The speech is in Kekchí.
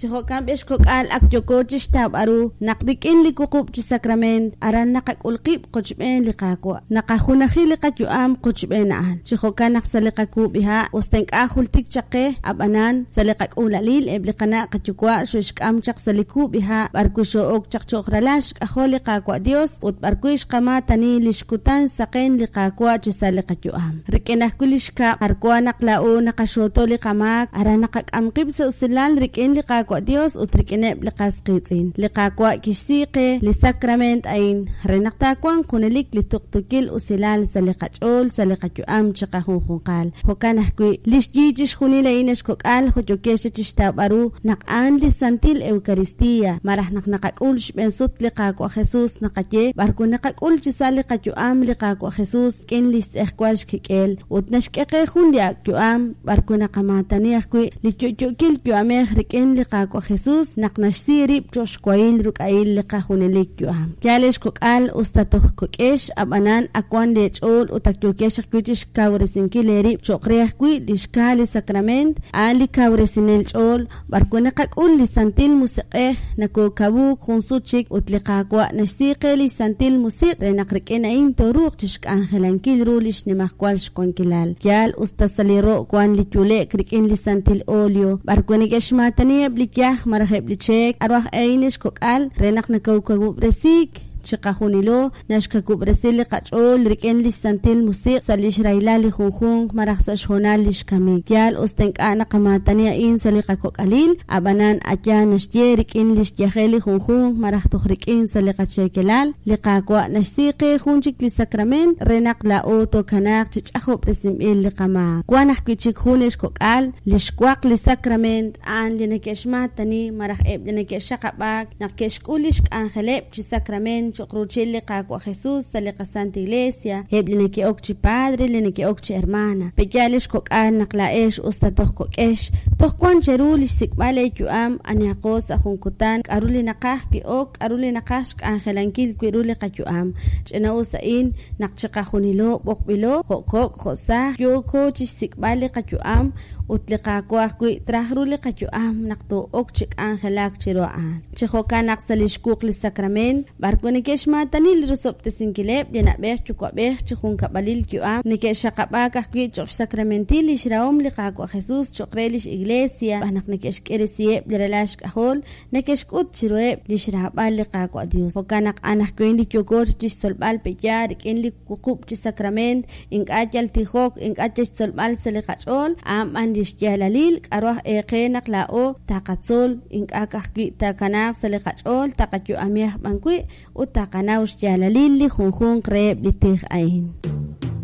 Chi jo'kan b'ex kok'al ak yooko chixtawb'al ru naq rik'in li wuqub' chi sakrament aran naqak'ul qib' qochb'een li Qaawa', naqajunaji li qayu'am qochb'een a'an. Chi jo'kan naq sa' li qakuub'iha', us ta ink'a' jultik chaq qe, a'b'anan, sa' li qak'uula'lil eb' li qana' qayuwa' xo'xk'am chaq sa' li kub'iha' b'ar wi' xoo'ok chaq cho'q ralal xk'ajol li Qaawa' Dios ut b'ar wi' xqamaatani lix kutan saqen li Qaawa' chi sa' li qayu'am. Rik'in ajwi' li xkab' jar wa naq laa'o naqaxooto li qamaak, aran naqak'am qib' sa' usilal rik'in li Qaawa' Dios ut rik'ineb' li qas qiitz'in. Li Qaawa' kixsi qe li sakrament a'in re naq taawanq junelik li tuqtuukil usilal sa' li qach'ool sa' li qayu'am chiqajunjunqal. Jo'kan ajwi', li xyi chixjunil a'in ex kok'al jo' yokex chixtawb'al ru naq a'an li Santil Eucaristía, malaj naq naqak'ul xb'een sut li Qaawa' Jesus naqaye b'ar wi' naqak'ul chi sa' li qayu'am li Qaawa' Jesus rik'in li xtz'ejwal xkik'el ut naxk'e qe jun li ak' yu'am b'ar wi' naqamaatani ajwi' li yo'yo'kil yu'amej rik'in li Qaawa' Jesus naq naxsi rib' cho'q xwahil ruk'a'il li qajunelik yu'am. Yaal ex kok'al, us ta toj kok'ex, ab'anan ak wan leech'ool ut ak yookex ajwi' chi xkawresinkil eerib' cho'q re ajwi' li xkaa li sakrament, a'an li kawresinel ch'ool, b'ar wi' naqak'ul li Santil Musiq'ej, nakookawuuk jun sut chik ut li Qaawa' naxsi qe li xSantil Musiq' re naq rik'in a'in tooruuq chi xk'anjelankil ru li xnimajwal xwankilal. Yaal, us ta sa' li ro' wank li yule'k rik'in li santil olio, b'ar wi' neke'xmaatani eb' li yaj malaj eb' li cheek, k'aru aj a'in ex kok'al re naq nakawkawub'resiik chiqajunilo naxkawub'resi li qach'ool rik'in li xsantil musiq' sa' li xrahilal li junjunq malaj sa' xhoonal li xkamik. Yaal us ta ink'a' naqamaatani a'in sa' li qakok'alil, ab'anan a'yaal naxye rik'in li xyajel li junjunq malaj toj rik'in sa' li qacheekelal, li Qaawa' naxsi qe jun chik li sakrament re naq laa'o tookanaaq chi ch'ajob'resinb'il li qamaak. Wank ajwi' chik jun ex kok'al, li xwaq li sakrament a'an li neke'xmaatani malaj eb' li neke'xaqab'aak naq ke'xk'ul lix k'anjeleb' chi sakrament cho'q ruuchil li Qaawa' Jesus sa' li qaSanta Iglesia, eb' li neke'ok chi padre, li neke'ok chi hermana. Pe'yaal ex kok'al naq laa'ex us ta toj kok'ex, toj wan cheru li xsik'b'al eeyu'am anihaqo sa' jun kutan, k'a'ru li naqaj wi' ok, k'a'ru li naqaj xk'anjelankil wi' ru li qayu'am. Ch'ina-us a'in naq chiqajunilo b'oqb'ilo, jo' kok' jo' saaj, yooko chixsik'b'al li qayu'am ut li Qaawa' ajwi' traj ru li qayu'am naq too'ok chi k'anjelak chiru a'an. Chi jo'kan naq sa' li xwuq li sakrament, b'ar wi' neke'xmaatani li rosob'tesinkileb' li na'b'ej yuwa'b'ej chi junkab'alil yu'am, neke'xaqab'aak ajwi' cho'q xsakramentil lix rahom li Qaawa' Jesus cho'q re lix Iglesia, xb'aan naq neke'xk'iresiheb' li ralal xk'ajol, neke'xk'ut chiruheb' lix raab'al li Qaawa' Dios. Jo'kan naq anajwan li yooko chixtzolb'al pe'yaal rik'in li wuqub' chi sakrament, ink'a' yal tijok, ink'a' yal xtzolb'al sa' li qach'ool, a'an b'an lix yaalalil k'a'ru aj eeqe naq laa'o taqatzol, ink'a' ka'ajwi' taakanaaq sa' li qach'ool, taqayu'ami aj b'an wi' ut taqanaw xyaalalil li junjunq reheb' li tij a'in.